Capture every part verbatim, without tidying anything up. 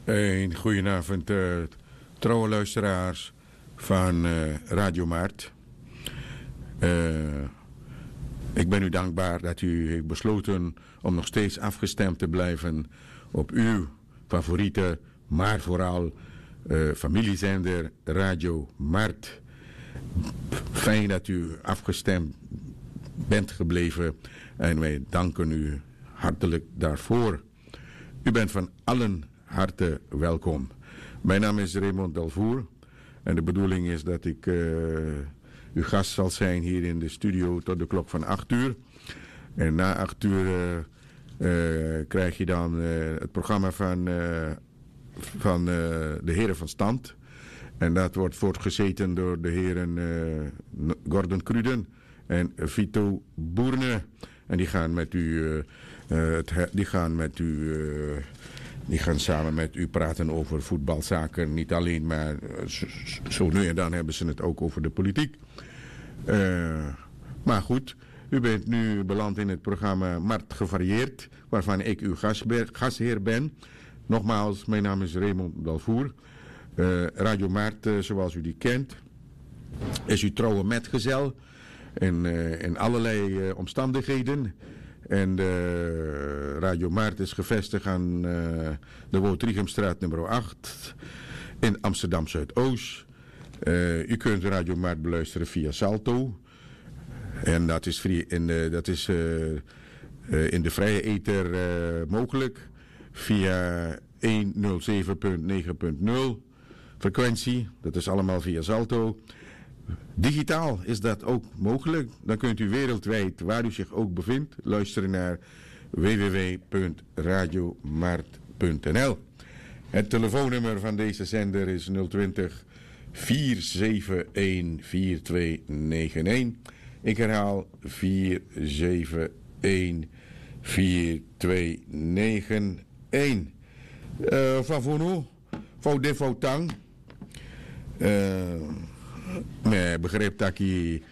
Een goedenavond, eh, trouwe luisteraars van eh, Radio Maart. Eh, ik ben u dankbaar dat u heeft besloten om nog steeds afgestemd te blijven op uw favoriete, maar vooral eh, familiezender Radio Maart. Fijn dat u afgestemd bent gebleven en wij danken u hartelijk daarvoor. U bent van allen harte welkom. Mijn naam is Raymond Delvoer en de bedoeling is dat ik eh, uw gast zal zijn hier in de studio tot de klok van acht uur. En na acht uur eh, eh, krijg je dan eh, het programma van, eh, van eh, de heren van stand. En dat wordt voortgezeten door de heren eh, N- Gordon Cruden en Vito Boerne. En die gaan met u, eh, eh, het, he- die gaan met u, eh, die gaan samen met u praten over voetbalzaken. Niet alleen, maar eh, z- z- zo nu en dan hebben ze het ook over de politiek. Eh, maar goed, u bent nu beland in het programma Mart Gevarieerd, waarvan ik uw gasbe- gastheer ben. Nogmaals, mijn naam is Raymond Dalvoer. Eh, Radio Mart, eh, zoals u die kent, is uw trouwe metgezel in, eh, in allerlei eh, omstandigheden. En de Radio Mart is gevestigd aan eh, de Wout Riegumstraat nummer acht in Amsterdam Zuidoost. Eh, u kunt Radio Mart beluisteren via Salto. En dat is, vri- in de, dat is eh, eh, in de vrije ether eh, mogelijk via honderdzeven punt negen punt nul frequentie. Dat is allemaal via Salto. Digitaal is dat ook mogelijk. Dan kunt u wereldwijd, waar u zich ook bevindt, luisteren naar w w w punt radiomart punt n l. Het telefoonnummer van deze zender is nul twintig, vier zeven een, vier twee negen een. Ik herhaal, vier zeven een, vier twee negen een. Eh, Favunu, Faude Fautang. Eh, me begrijp taki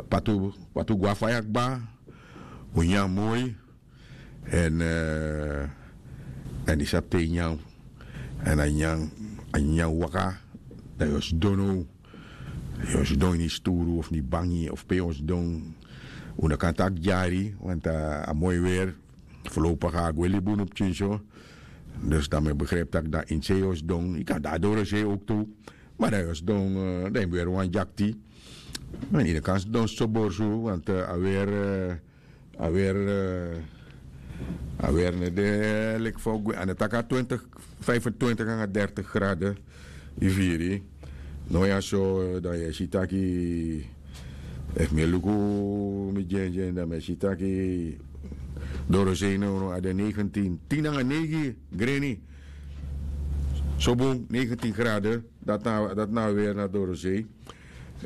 patu, patu gwa faya kba, un nyan moi, en, eh, en di sabi te nyan, en a nyan, a nyan waka, dan yu o sidon now, yu o sidon ini sturu of ini bangi of pe yu o sidon, un no kan taki dyari, want a moi weer, voorlopig a gwe libi unu pikin so. Dus dan mi e begrijp taki dan ini sei yu o sidon, yu kan de a doro sei ook tu, ma dan yu o sidon, eh, dan yu mus weri wan dyakti. En yu no kan sidon so borsu, want eh, a weer, eh, a weer, eh, a weer no de leki fa un gwe, a no taki a twintig, vijfentwintig nanga dertig graden. Yu firi? No, ya so, eh, dan yu e si taki, efu mi e luku mi dyendyen, dan mi e si taki dorosei no, no, a de negentien, tin nanga neigi greni. So bun, negentien graden, dati na, dati na a weer na dorosei.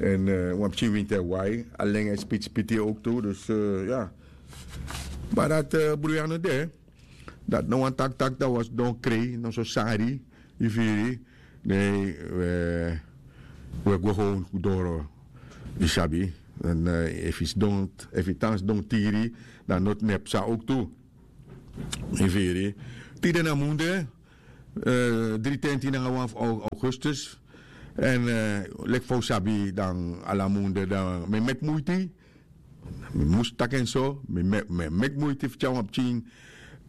En eh, wan pikin winti e wai, a len e spiti spiti ook tu, dus eh, ya. Ma dati eh, bruya no de. Dati no wani taki taki dan wi o sidon krei, no so sari, yu firi. Nee, we, we gwe gewoon doro, yu sabi. En eh, efu yu sidon, efu yu tan sidon tiri, dan noti mi e psa ook tu. Yu firi. Tide na munde, eh, dri tenti nanga wan fu au- augustus. En eh, leki fa un sabi dan ala munde dan mi e meki muiti. Mi mus taki en so, mi me- mi e meki muiti fu tyari wan pikin,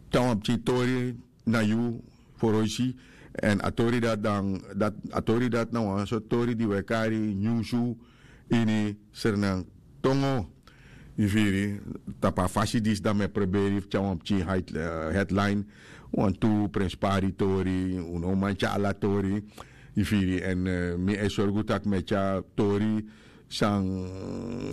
tyari wan pikin tori na yu foroisi. En a tori dati dan, dati, a tori dati na wan sortu tori di wi e kari nyunsu ini Sranan tongo. Yu firi, tapu a fasi disi dan mi e proberi fu tyari wan pikin hait- eh, headline. Wantu prenspari tori, un no man tyari ala tori. Yu firi, en eh, mi e sorgu tak' mi e tyari tori san,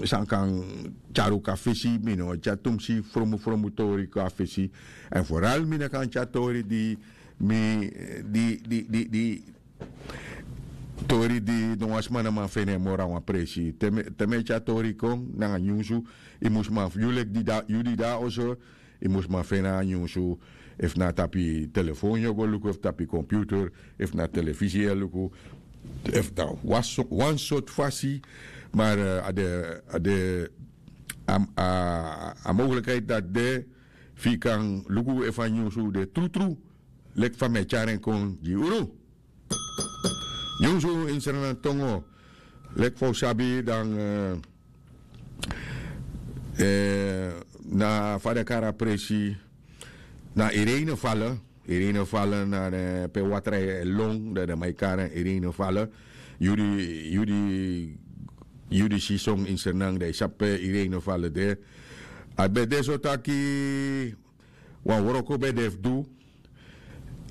san kan tyari un kon na fesi. Mi no tyari tumsi fromu fromu tori kon na fesi. En vooral mi no kan tyari tori di mi, di, di, di, di tori di no wan sma no man feni en moro na wan presi. Te mi, te mi e tyari tori kon nanga nyunsu, yu mus man fu yu leki di da, yu di da oso, yu mus man feni a nyunsu. Efu na tapu yu telefon yu o go luku, efu tapu yu computer, efu na telefisi yu e luku, efu na wan so- wan sortu fasi. Maar eh, a de, a de a, a, a mogelijkheid dati de fu yu kan luku efu a nyunsu de trutru. Leki fa mi e tyari en kon gi unu. Nyunsu ini Sranan tongo, leki fa un sabi dan, eh, na fa den kari a presi, na Irene Fale. Irene Fale na den pe watra e lon, dan den man e kari en Irene Fale. Yu di, yu di, yu di si son ini Sranan, dan yu sabi pe Irene Fale de. A ben de so taki wan wroko ben de fu du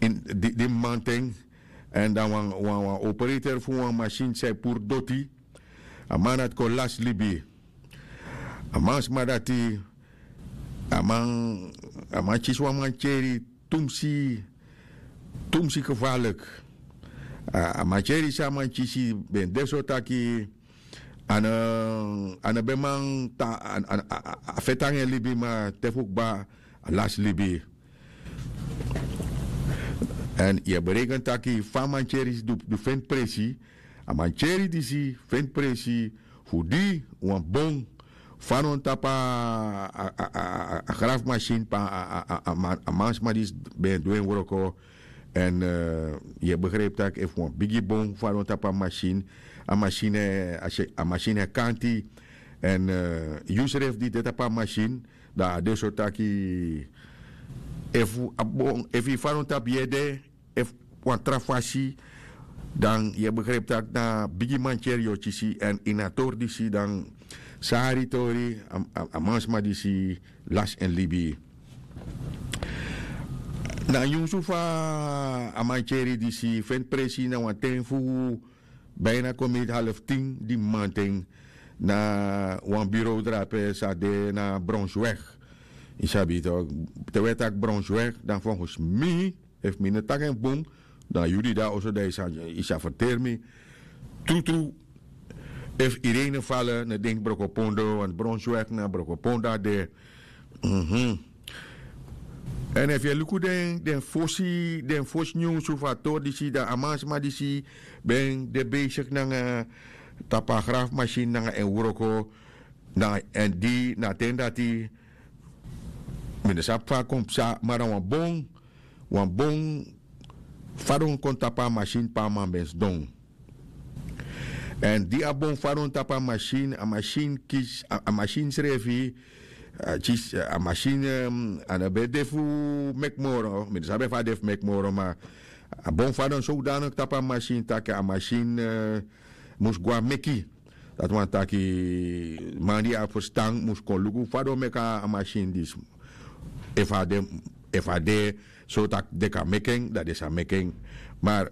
ini di, di mamanten. Èn dan wan, wan, wan operator fu wan masin san e puru doti, a man dati kon lasi libi. A mansma dati, a man, a man kisi wan mantyeri tumsi, tumsi gevaarlijk. A, a mantyeri san a man kisi ben de so taki a no, a no ben man ta, a, a, a, a feti nanga en libi, ma te fu kba a lasi libi. Èn yu e bereken taki fa a mantyeri disi du, du feni presi, a mantyeri disi feni presi fu di wan bon fadon tapu a, a, a, a, a grafmasin pe a, a, a, a man, a mansma disi ben du en wroko. Èn, eh, yu e begrijpi tak' efu wan bigi bon fadon tapu a masin, a masin e, a se, a masin e kanti. Èn, eh, yusrefi di de tapu a masin, dan a de so taki efu a bon, efu yu fadon tapu yu ede, efu wan tra fasi, dan yu e begrijpi tak' na bigi mantyeri yu o kisi. Èn ini a tori disi dan sari tori, a, a, a mansma disi lasi en libi. Na nyunsu fa a mantyeri disi feni presi na wan ten fu bijna kon miti half tin di mamanten, na wan bureau drape san de na Brownsweg. Yu sabi tok, te wi e taki Brownsweg, dan volgens mi, efu mi no taki en bun, dan yu di de na oso dan yu sa, yu sa ferteri mi. Trutru, efu Irene Fale no denki Brokopondo, want Brownsweg na Brokopondo a de. Mhm. Èn efu yu e luku den, den fosi, den fosi nyunsu fu a tori disi, dan a mansma disi ben de besigi nanga, tapu a grafmasin nanga en wroko. Dan èn di na a ten dati, mi no sabi fa a kon psa, ma na wan bon, wan bon fadon kon tapu a masin pe a man ben sidon. Èn di a bon fadon tapu a masin, a masin kisi, a, a masin srefi, a kisi, a masin, em, a no ben de fu meki moro, mi no sabi efu a de fu meki moro, ma a bon fadon sodanig tapu a masin tak' a masin, eh, mus go na meki. Dati wani taki man di abi ferstan mus kon luku fa den o meki a masin disi. Efu a de, efu a de so tak' den kan meki en, dan den sa meki en. Ma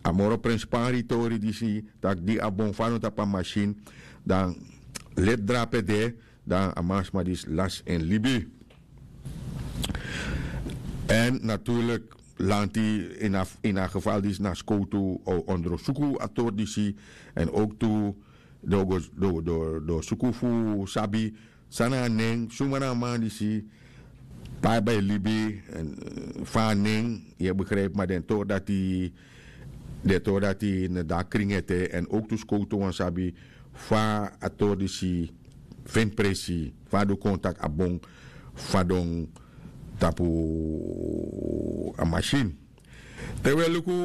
a moro prenspari tori disi, tak' di a bon fadon tapu a masin, dan leti drape de, dan a mansma disi lasi en libi. Èn natuurlik, lanti, ini a, ini a geval disi na skowtu o ondrosuku a tori disi, èn ook tu den o go, den o, den o, den o suku fu sabi san na a nen, suma na a man disi, pe a ben e libi, èn, eh, fa a nen, yu e begrijpi, ma den tori dati, den tori dati no de na krin ete, èn ook tu skowtu wani sabi fa a tori disi feni presi, fa a du kon tak' a bon fadon tapu a masin. Te wi e luku,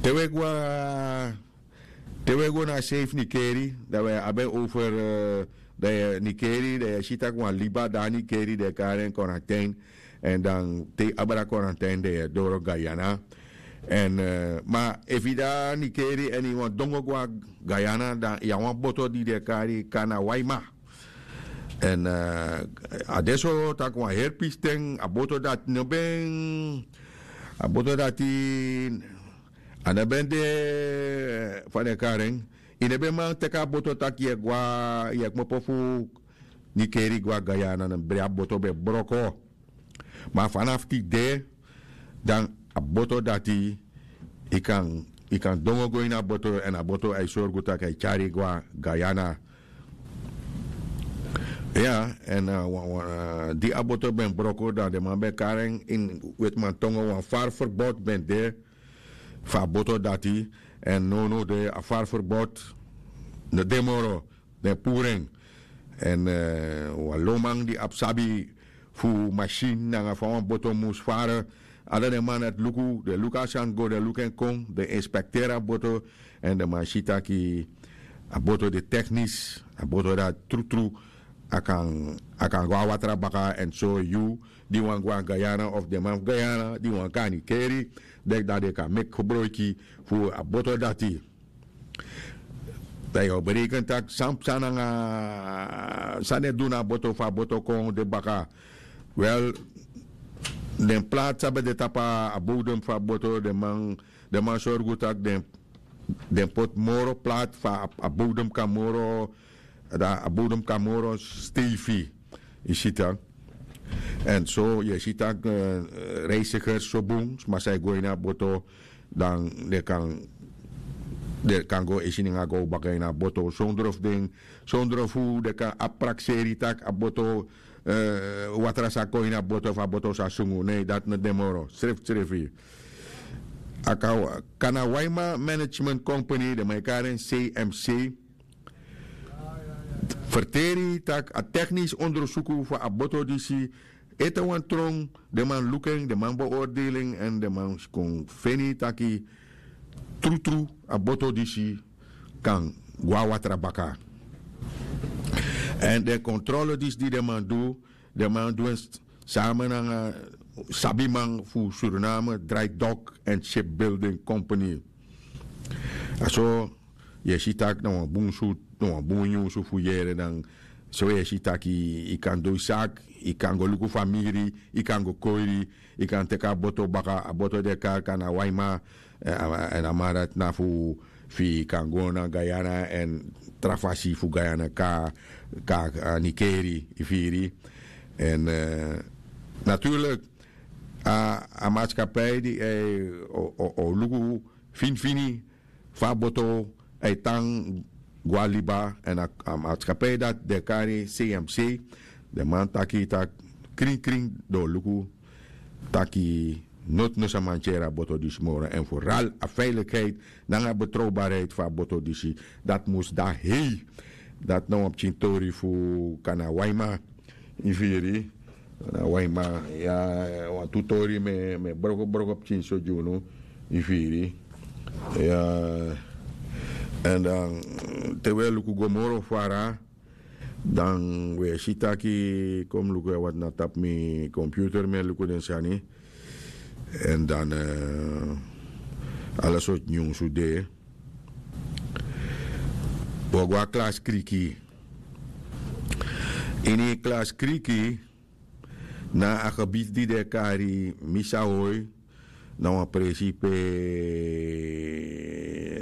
te wi e go na, te wi e go na a sei fu Nikeri, dan wi e abi en over, eh, dan yu e, Nikeri, dan yu e si tak' wan liba de na Nikeri, den e kari en Korantein. Èn dan te yu abra Korantein, dan yu e doro Guyana. Èn, eh, ma efu yu de na Nikeri èn yu wani dongo go na Guyana, dan yu abi wan boto di den e kari Kana Waima. Èn, eh, a de so tak' wan heri pisten, a boto dati no ben, a boto dati a no ben de, fa den e kari en, yu no ben man teki a boto tak' yu e go na, yu e kmopo fu Nikeri go na Guyana, na bri a boto ben broko. Ma fanafu tide, dan a boto dati, yu kan, yu kan dongo go ini a boto, èn a boto a e sorgu tak' a e tyari yu go na Guyana. Ya, èn, eh, wan, wan, eh, di a boto ben broko, dan den man ben kari en ini wetiman tongo, wan vaarverbod ben de fu a boto dati. Èn nownow de a vaarverbod no de moro, den puru en. Èn, eh, wan lonman di abi sabi fu masin nanga fa wan boto mus fara. Ala den man dati luku den luku a sani go den luku en kon den inspekteri a boto. Èn den man si taki a boto de teknis a boto dati trutru a kan a kan go na watra baka èn so yu di wani go na guyana of den man fu guyana di wani go na nikeri deki dati den kan meki gebroiki fu a boto dati. Dan yu o bereken tak' san psa nanga san den du na a boto fu a boto kon de baka. Wel, den plaat san ben de tapu a bodem fu a boto den man sorgu tak' den poti moro plaat fu a bodem kan moro dan a bodem kan moro steifi. Yu si tak'? Èn so yu e si tak' reisigers so bun sma san e go ini a boto dan den kan den kan go e sininga go baka ini a boto sondro fu den sondro fu den kan abi prakseri tak' a boto watra sa kon ini a boto fu a boto sa sungu nei dati no de moro srefsrefi. A kan kan na waima management company den man e kari en cmc ferteri tak' a teknisi ondersuku fu a boto disi ete wan tron den man luku en den man beordeli en èn den man kon feni taki trutru a boto disi kan go na watra baka. Èn den kontrole disi di den man du den man du en sama nanga sabiman fu suriname dry dock and shipbuilding company. A so yu e si tak' na wan bun sutu na wan bun nyunsu fu yere dan so yu e si tak' yu kan du yu saki yu kan go luku famiri yu kan go koiri yu kan teki a boto baka a boto di e kari kan na waima. Èn a man dati na fu yu kan go na guyana èn tra fasi fu guyana kaka nikeri yu firi. Èn naturlik a maskapai di o luku finifini fa a boto a e tan go na liba èn a maskapai dati den e kari cmc den man taki tak' krinkrin den o luku taki noti no sa man tyari a boto disi moro èn foral a veilikheid nanga a betrowbarheid fu a boto disi dati mus de na hei. Dati na wan pikin tori fu kanawaima yu firi na waima ya wantu tori mi e brokobroko pikin so gi unu yu firi. Ya èn dan te wi e luku go moro fara dan wi e si taki kon mi luku ya wati na tapu mi komputer mi e luku den sani. Èn dan ala sortu nyunsu de. Wi o go na klasi kriki ini klasi kriki na a gebiti di den e kari misahoi na wan presi pe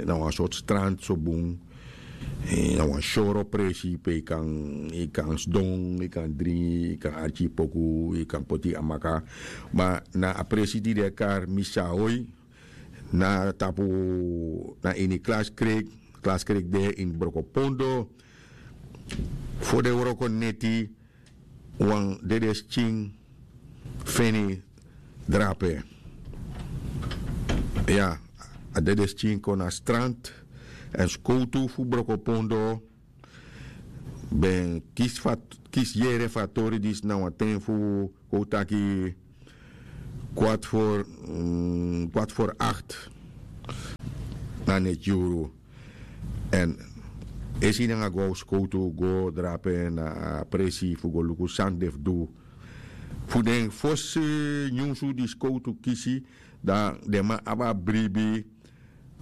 na wan sortu strand so bun. Na wan soro presi pe yu kan sidon yu kan dringi yu kan arki yu poku yu kan poti yu amaka. Ma na a presi di den e kari misahoi na tapu na ini klaskrek klaskrek de ini brokopondo. Fo den wroko neti wan dede skin feni drape. Ya a dede skin kon na strand èn skowtu fu brokopondo ben kisi yere fu a tori disi na wan ten fu kon taki kwart for kwart for akt. Na neti yuru èn esi nanga go a skowtu go drape na a presi fu go luku san den fu du. Fu den fosi nyunsu di skowtu kisi dan den man abi a bribi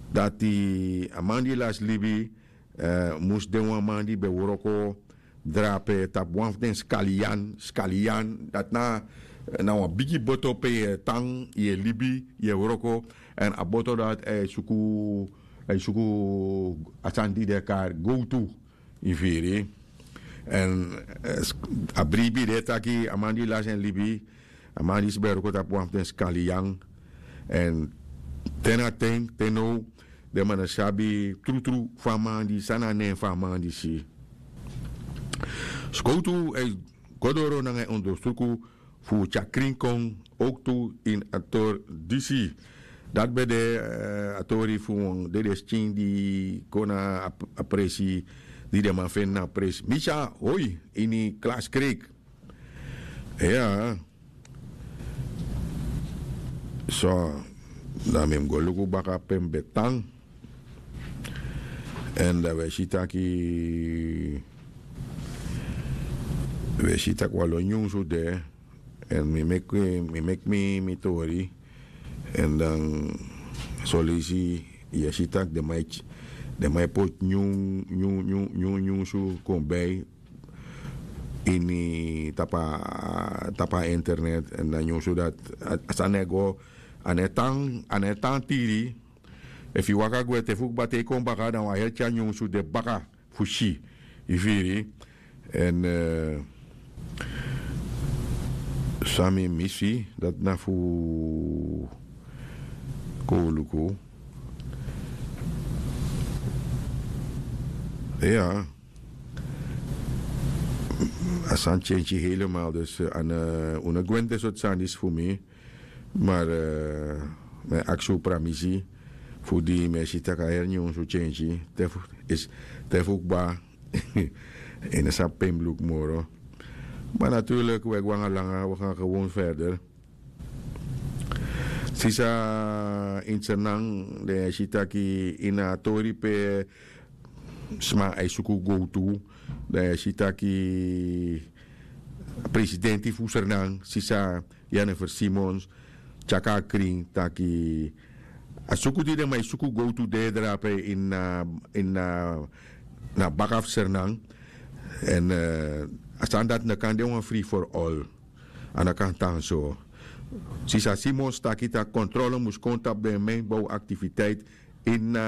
dati a man di lasi libi mus de wan man di ben wroko drape tapu wan fu den skaliyan skaliyan dati na na wan bigi boto pe yu e tan yu e libi yu e wroko. Èn a boto dati a e suku a e suku a sani di den e kari gowtu yu firi. Èn a bribi de taki a man di lasi en libi a man disi ben e wroko tapu wan fu den skaliyan. Èn te na ten te now den man no sabi trutru fu a man disi san na nen fu a man disi. Skowtu e go doro nanga en ondersuku fu tyari krin kon owktu ini a tori disi. Dati ben de a tori fu wan dede skin di kon na a presi di den man feni na a presi misi a hoi ini klaskrek. Iya. So, dan mi mus go luku baka pe mi ben tan. Èn dan wi e si taki wi e si taki wan lo nyunsu de. Èn mi meki mi meki mi mi tori. Èn dan soleisi yu e si taki den man e poti nyun nyun nyun nyun nyunsu kon bai ini tapu a tapu a internet. Èn dan nyunsu dati a sani e go a no e tan a no e tan tiri. Efu yu waka gwe te fu kba te yu kon baka dan wan heri tyari nyunsu de baka fu si. Yu firi? Èn san mi misi dati na fu kon wi luku. Iya. A sani tyentyi helemaal dus un no gwe ini den sortu sani disi fu mi. Mar mi e aksi un pramisi fu di mi e si tak' a heri nyunsu tyentyi te fu kba. Ini a sabi pe mi luku moro. Ma naturlik wi e go nanga langa wi gan gewon ferder. Sisa ini sernan den e si taki ini a tori pe sma e suku gowtu. Den e si taki presidenti fu sernan sisa jennifer simons tyaki a krin taki a suku di den man e suku gowtu de drape ini na baka fu sernan. Èn a sani dati no kan de wan free for all. A no kan tan so. Sisa simons taki tak' kontrole mus kon tapu den mijnbow aktiviteit ini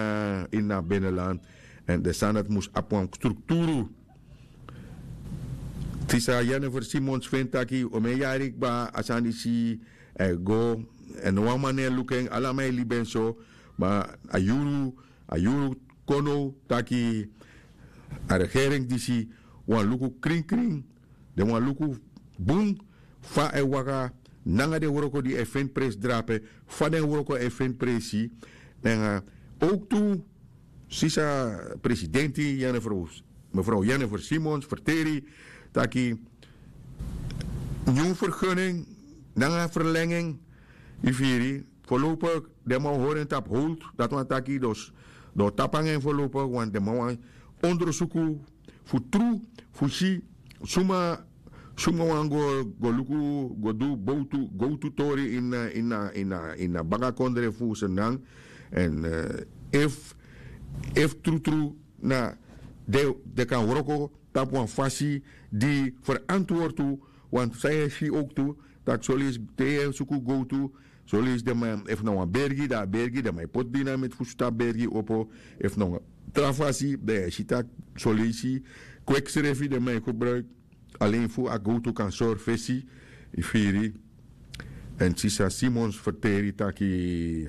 na binnenland. Èn den sani dati mus abi wan strukturu. Sisa jennifer simons feni taki wi o men yari kba a sani disi e go. Èn no wan man no e luku en ala man e libi en so. Ma a yuru a yuru kon now taki a regering disi wani luku krinkrin. Den wani luku bun fa a e waka nanga den wroko di a e feni presi drape fa den wroko a e feni presi. Nanga owktu sisa presidenti jennifer mevrouw jennifer simons ferteri taki nyun ferguning nanga ferlenging. Yu firi? Forlopik den man o hori en tapu hold dati wani taki den o tapu nanga en forlopik want den man wani ondersuku fu tru fu si suma suma wani go luku go du bowtu gowtu tori ini a ini a ini a ini a baka kondre fu sernan. Èn efu efu trutru na den kan wroko tapu wan fasi di ferantwortu. Want san yu e si owktu tak' soleisi te yu e suku gowtu soleisi den man efu na wan bergi dan a bergi den man e poti dinamiti fu sutu a bergi opo. Efu na wan tra fasi dan yu e si tak' soleisi kweki srefi den man e gebruiki alen fu a gowtu kan sori fesi. Yu firi? Èn sisa simons ferteri taki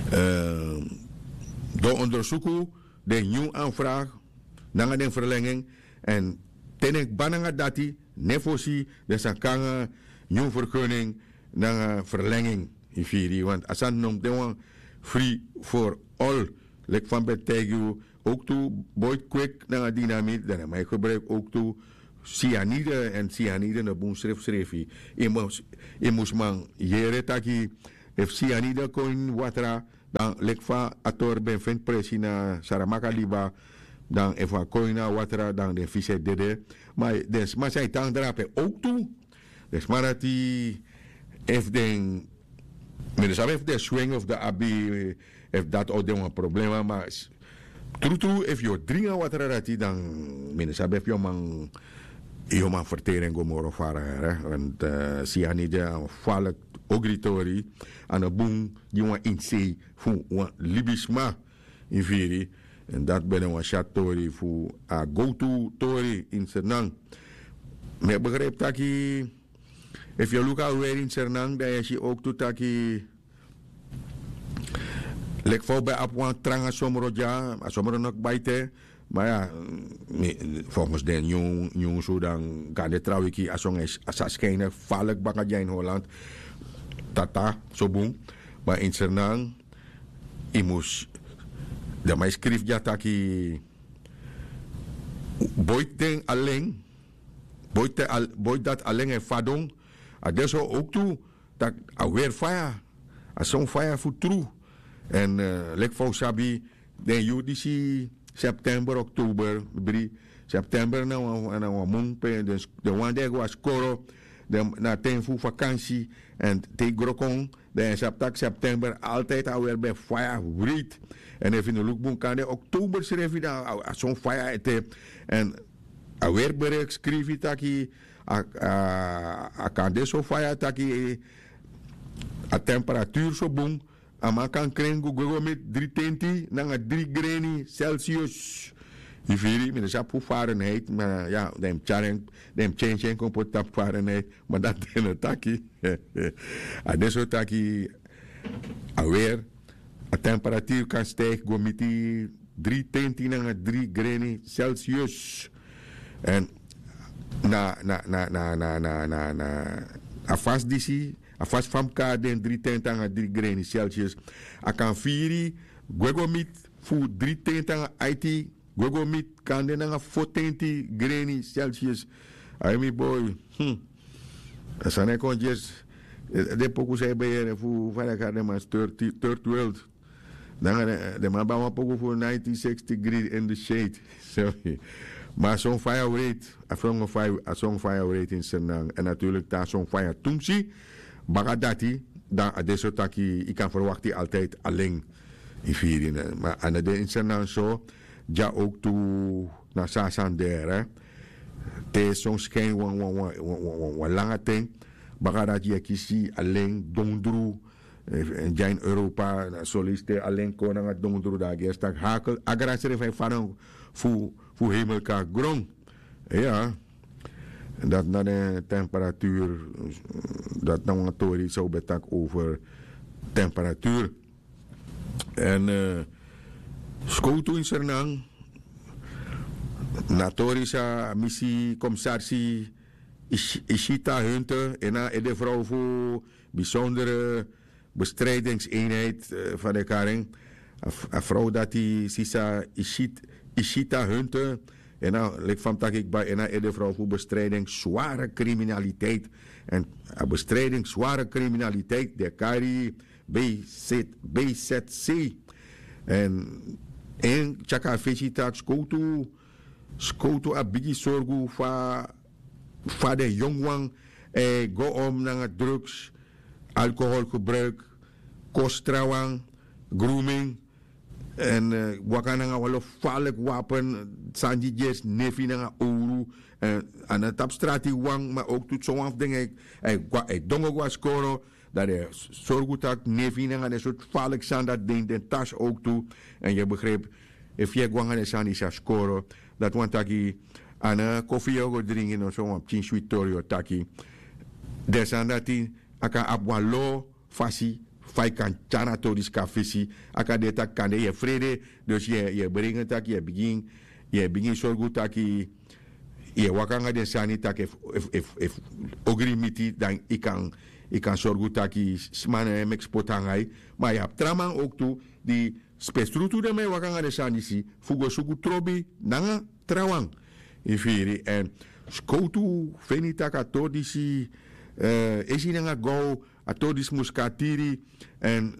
den ondersuku den nyun anfragi nanga den ferlenging. Èn te den kba nanga dati ne fosi den sa kon nanga nyun ferguning nanga ferlenging. Yu firi? Want a sani no mus de wan free for all. Leki fa mi ben taigi yu owktu boiti kweki nanga dinamiti dan den man e gebruiki owktu sianide. Èn sianide no bun srefsrefi. Yu mus man yere taki efu sianide kon ini watra dan leki fa a tori ben feni presi na saramaka liba dan efu a kon ini a watra dan den fisi e dede. Ma den sma san e tan drape owktu den sma dati efu den mi no sabi efu den swing of den abi efu dati o de wan problema ma trutru efu yu o dringi a watra dati dan mi no sabi efu yu o man yu o man ferteri en go moro fara. Want sianide a wan faliki ogri tori a no bun gi wan insei fu wan libisma. Yu firi? Èn dati ben de wan syatu tori fu a gowtu tori ini sernan. Mi e begripi taki efu yu e luku a weri ini sernan dan yu e si owktu taki leki fa un ben abi wan tranga somro dya a somro no kba ete. Ma ya folgens den nyun nyunsu dan kande trawiki a son e sa skijne falik baka dya ini holland. Tata so bun. Ma ini sernan yu mus den man e skrifi dya taki boiti den alen. Boi dati alen e fadon. A de so owktu tak' a weri faya. A son faya fu tru. Èn leki fa un sabi, den yuru disi, september oktober, bri september na wan mun pe den wan di e go na skoro, na ten fu fakansi. Èn te yu gro kon, dan yu e sabi tak' september altijdi a weri ben faya wreiti. Èn efu yu no luku bun kande oktober srefi dan a son faya ete. Èn a weri bereki skrifi taki a kan de so faya taki a temperaturu so bun. A man kan kren go gwe go miti dri tenti nanga dri greni celsius. Yu firi mi no sabi fu farenheit ma ya, den mus tyari en, den mus tyentyen kon poti tapu farenheit. Ma dati den no taki. A de so taki a weri a temperaturu kan stigi go miti dri tenti nanga dri greni celsius. Èn na na na na na na na na a fasi disi, a fasi fa mi kari den dri tenti nanga dri greni celsius, a kan firi gwe go miti fu dri tenti nanga aiti gwe go miti kande nanga fo tenti greni celsius. Ai mi boi. A sani e kon dyesi. Den poku san yu ben yere fu fa den e kari den man third world. Nanga den man ben abi wan poku fu ninety sixty gridi in the shade. Ma a son faya wreiti. A son faya a son faya wreiti ini sernang èn naturlik te a son faya tumsi. Baka dati dan a de so taki yu kan ferwakti altijdi alen. Yu firi ma a no de ini sernang so. Dya owktu na so a sani de. Te son skin wan wan wan wan langa ten. Baka dati yu e kisi alen dondru. Èn dya ini europa na soleisi te alen kon nanga dondru dan a gersi tak' hakel a grasrefi e fadon fu fu hemelkaki gron. Iya. Dati na den temperaturu. Dati na wan tori san un ben taki over temperaturu. Èn skowtu ini sernan na tori san mi si komisarsi ishita hunte en na edefrow fu bisondere bestrijdingseenheid van de karing. A frow dati sisa ishita hunte en na leki fa mi taki kba en na edefrow fu bestrijding sware kriminaliteit. En a bestrijding sware kriminaliteit de kari bzc. En en tyaka a fesi taki skowtu skowtu abi bigi sorgu fa fa den yongu wan e go om nanga drugs, alkoholgebruik, kosi trawan, grooming, èn waka nanga wan lo faliki wapen, sani di gersi nefi nanga owru. A no tapu strati wan ma owktu sowan fu den e dongo go na skoro. Dan den e sorgu tak' nefi nanga den sortu faliki sani dati de ini den tasi owktu. Èn yu e begripi efu yu e go nanga den sani disi na skoro, dati wani taki a no kofi yu o go dringi noso wan pikin switi tori yu o taki. Den sani dati a kan abi wan lo fasi fa yu kan tyari a tori disi kon na fesi. A kan de tak' kande yu e frede. Dus yu e bringi en tak' yu e bigin yu e bigin sorgu taki yu e waka nanga den sani tak' efu ogri miti dan yu kan yu kan sorgu taki sma no e meki spotu nanga yu. Ma yu abi tra man owktu di spesrutu den man e waka nanga den sani disi fu go suku trobi nanga trawan. Yu firi èn skowtu feni tak' a tori disi esi nanga gow a tori disi mus kon na tiri. Èn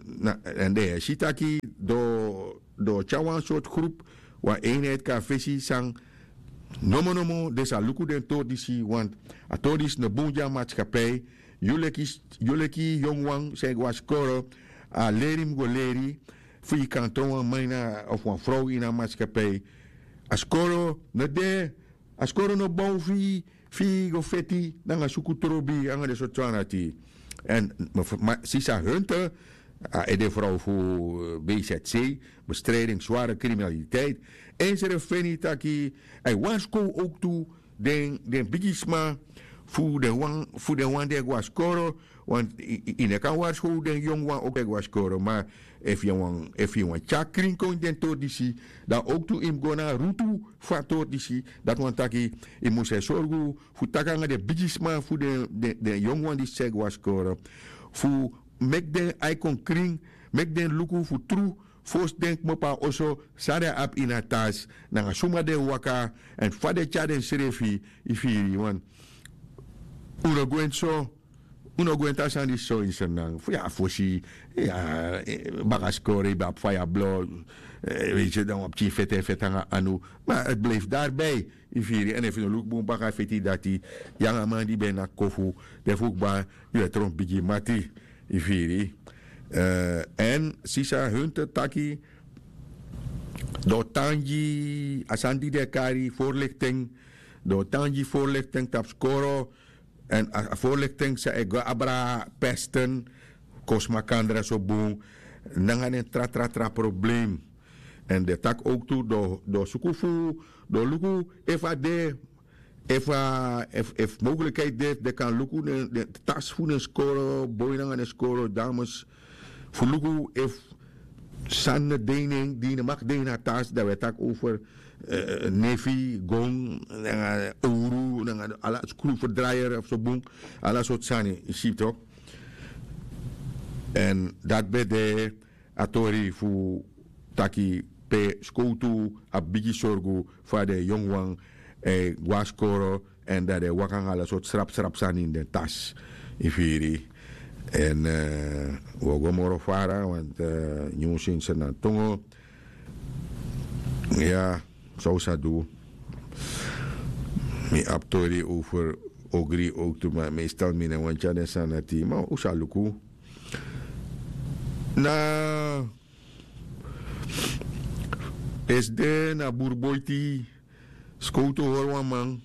den e si taki den o tyari wan sortu grupu wan einheit kon na fesi san nomo nomo den sa luku den tori disi wantu a tori disi no bun gi a matskapi. Yu leki yu leki yongu wan san e go na skoro a leri mus go leri fu yu kan tron wan man ini a of wan frow ini a matskapi. A skoro no de a skoro no bon fu yu fu yu go feti nanga suku trobi nanga den sortu sani dati. Èn sisa hunte a ede frow fu bzc bestrijding sware kriminaliteit en srefi feni taki a e warskow owktu den bigisma fu den wan fu den wan di e go na skoro. Want yu no kan warskow den yongu wan owktu e go na skoro ma efu yu wani tyari krin kon ini den tori disi dan owktu yu mus go na a rutu fu a tori disi. Dati wani taki yu mus e sorgu fu taki nanga den bigisma fu den yongu wan disi e go na skoro fu meki den ai kon krin meki den luku fu tru fosi den kmopo na oso, san den abi ini a tasi, nanga suma den e waka, èn fa den e tyari densrefi. Yu firi yu wani, un no gwenti so. Un no gwenti a sani disi so ini srnan fu ya fosi. Baka skoro yu ben abi faya blo, weiti dan wan pikin fete en fete nanga anu. Ma a blifi dari bei. Yu firi èn efu yu no luku bun baka feti dati, yu nanga a man di ben na kofu, den fu kba, yu e tron bigi mati. Yu firi. Èn sisa hunte taki, dan o tan gi a sani di den e kari forlikten. Dan o tan gi forlikten tapu skoro. Èn a forlikten san e go abra pesten, kon smakandra so bun, nanga den tra tra tra problem. Èn den taki owktu, den o suku fu, den o luku efu a de, efu a efu mowklikheid de den kan luku den tasi fu den skoro boi nanga den skoro dames, fu luku efu sani no de ini en di yu no maki de ini a tasi dan wi e taki over nefi gon nanga owru nanga ala skruwferdryer of so bun, ala sortu sani yu si tok. Èn dati ben de a tori fu taki pe skowtu abi bigi sorgu fu a den yonguwan e go na skoro èn dan den e waka nanga ala sortu srapsrap sani ini den tasi. Yu firi. Èn wi o go moro fara want nyun sinsi na tongo. Ya, san un sa du? Mi abi tori over ogri owktu ma meestal mi no wani tyari den sani na tii ma un sa luku. Na esde na burboiti skowtu hori wan man.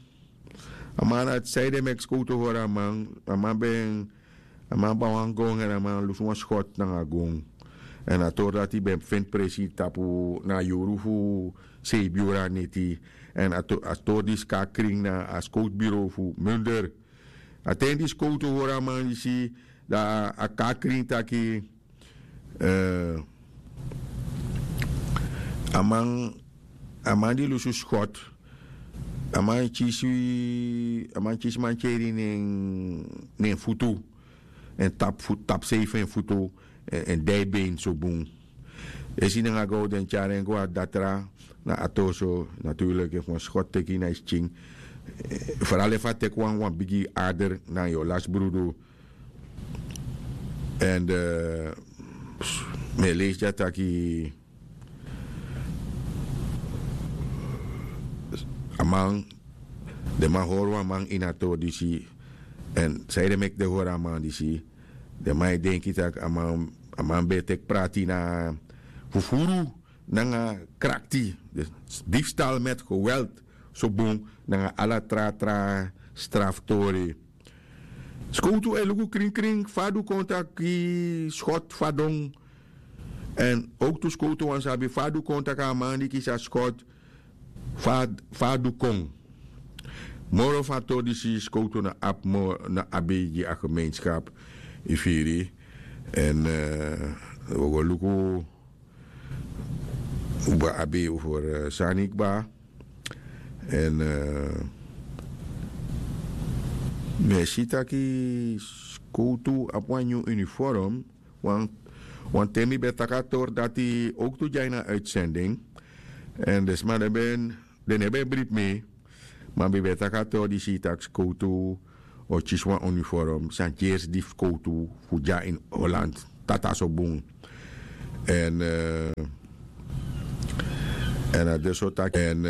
A man dati saide meki skowtu hori a man. A man ben a man ban wan gon èn a man lusu wan skot nanga a gon. Èn a tori dati ben feni presi tapu na a yuru fu seibi yuru a neti. Èn a tori disi kon na krin na a skowtu biro fu munder. A ten di skowtu hori a man disi, dan a kon na krin taki a man a man di lusu skot, a man kisi a man kisi mantyeri na en futu. Èn tapu sei fu en futu èn dei ben so bun. Esi nanga go den tyari en go na datra na a toso. Naturlik efu wan skot teki na yu skin, foral efu a teki wan wan bigi ader na yu o lasi brudu. Èn mi e leisi dya taki a man den man hori wan man ini a tori disi. Èn sanede meki den hori a man disi? Den man e denki tak' a man ben e teki prati na fufuru nanga krakti, difstal met geweld, so bun nanga ala tra tra straftori. Skowtu e luku krinkrin fa a du kon tak' gi skot fadon. Èn owktu skowtu wani sabi fa a du kon tak' a man di kisi a skot fa a du kon. Moro fu a tori disi skowtu no abi moro no abi gi a gemeenskap. Yu firi? Èn wi o go luku un ben abi over sani kba. Èn mi e si taki skowtu abi wan nyun uniform. Wanten mi ben taki a tori dati owktu dya ini a uitsending. Èn den sma den ben den no ben bribi mi. Ma mi ben taki a tori disi tak' skowtu o kisi wan uniform san gersi di fu skowtu fu dya ini holland. Tata so bun. Èn èn a de so taki èn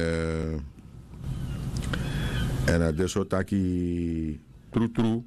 èn a de so taki trutru